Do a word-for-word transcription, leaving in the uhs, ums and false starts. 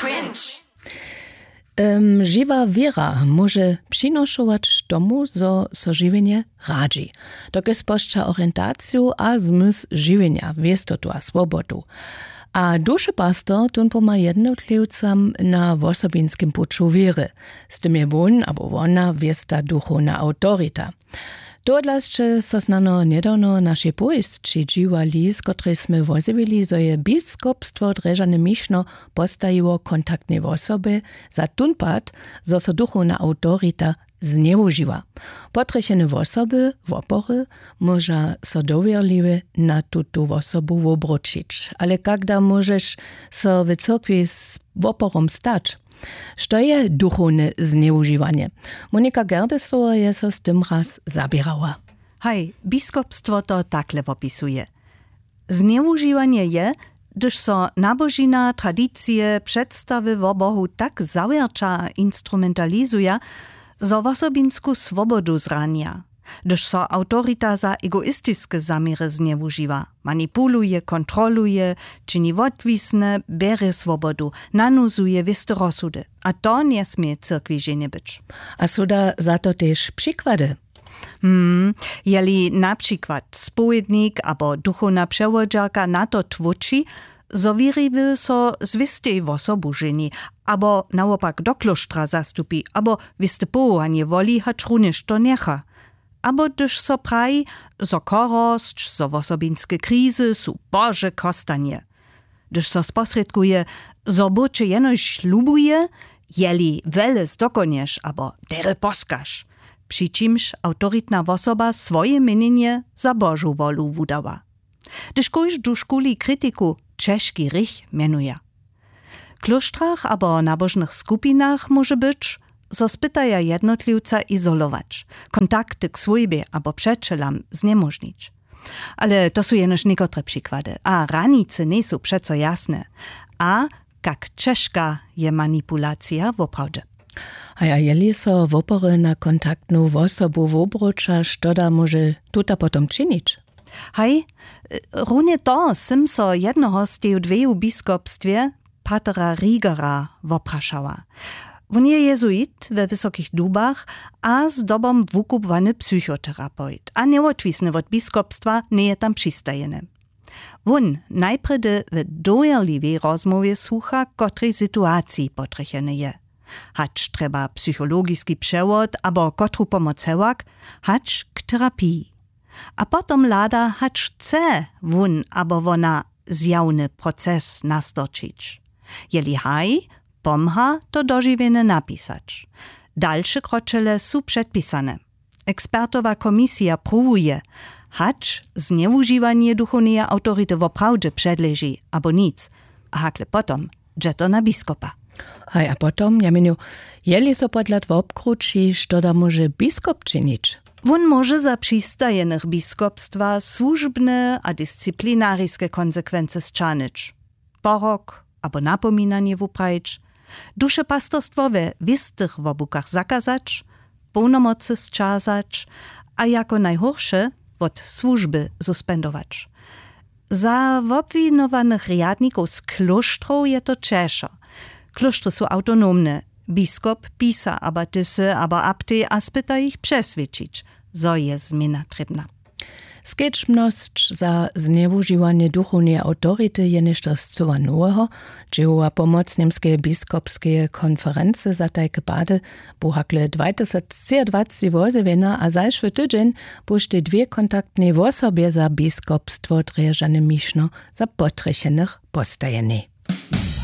Cringe. Em, žiwa wěra móže přinošować tomu, zo so žiwjenje radźi, dokelž spožča orientaciju a zmysł žiwjenja, wěstotu a swobodu. A dušepastor tón pomha jednotliwcam na wosobinskim puću wěry. Z tym je wón abo wona wěsta duchowna awtorita. Tohodla sće so snano njedawno w našej powěsći dźiwali, z kotrej smy wozjewili, zo je biskopstwo drježane mišno postajiło kontaktnej wosobje za tón pad, zo so duchowna awtorita znjewužiwa. Potrjechene wosoby, wopory, móža so dowěrliwje na tutu wosobu wobróćić. Ale kak da móžeš so w cyrkwi z woporom stać? Što je duchowne znjewužiwanje? Monika Gerdesowa je so z tym raz zaběrała. Haj, biskopstwo to takle wopisuje. Znjewužiwanje je, hdyž so nabožina, tradicije, předstawy wo Bohu tak zawjerća a instrumentalizuja, zo wosobinsku swobodu zranja. Hdyž so awtorita za egoistiske zaměry znjewužiwa, manipuluje, kontroluje, čini wotwisne, bjerje swobodu, nanuzuje wěste rozsudy. A to njesmě cyrkwi ženje być. A su da za to tež přikłady? Hmm, jeli na přikład spowědnik abo duchowna přewodźerka na to tłóči, zo wěriwy so z wěstej wosobu ženi, abo nawopak do klóštra zastupi, abo wěste powołanje woli, hač runjež to njecha. Abo hdyž so praji, zo chorosć, zo wosobinske krizy su Bože chostanje. Hdyž so sposrědkuje, zo Bóh će jenož lubuje, jeli wjele zdokonješ abo derje poskaš, při čimž awtoritna wosoba swoje měnjenje za Božu wolu wudawa. Hdyž kóždu škuli kritiku ćežki hrěch mjenuja. W klóštrach abo nabožnych skupinach móže być, zo spytaja jednotliwca izolować, kontakty k swójbje abo přećelam znjemóžnić. Ale to su jenož někotre přikłady a hranicy njejsu přeco jasne. A kak ćežka je manipulacija woprawdźe? A ja, jeli so wopory na kontaktnu wosobu wobróća, što da móže tuta potom činić? Haj, runje to sym so jednoho z teju dweju w biskopstwje, patera Rigera, woprašała. Wón je jezuit we Wysokich Dubach a zdobom wukubłany psychoterapewt a njewotwisny wot biskopstwa, njeje tam přistajeny. Wón najprjedy w dowěrliwej rozmołwje słucha, w kotrej situaciji potrjecheny je, hač trjeba psychologiski přewod abo kotru pomoc hewak, hač k terapiji. A potom hlada, hač chce wón abo wona zjawny proces nastorčić. Jeli haj, pomha to dožiwjenje napisać. Dalše kročele su předpisane. Ekspertowa komisija pruwuje, hač znjewužiwanje duchowneje awtority woprawdźe předleži abo nic, a hakle potom dźe to na biskopa. Haj, a potom, ja měnju, jeli so podhlad wobkrući, što da móže biskop činić? Wón móže za přistajenych biskopstwa słužbne a disciplinariske konsekwency sćahnyć, porok abo napominanje wuprajić, dušepastorstwo we wěstych wobłukach zakazać, połnomocy sćazać a jako najhórše wot słužby suspendować. Za wobwinowanych rjadnikow z klóštrow je to ćežo. Klóštry su awtonomne. Biskop pisa abatysy abo abtej a spyta jich přeswědčić, zo je změna trěbna. Skedźbnosć za znjewužiwanje duchowneje awtority je něšto scyła noweho. Dźěłowa pomoc Němskeje biskopskeje konferency za tajke pady bu hakle dwatysactřiadwacci wozjewjena a zašły tydźeń buštej dwě kontaktnej wosobje za biskopstwo drježane mišno za potrjechenych postajenej.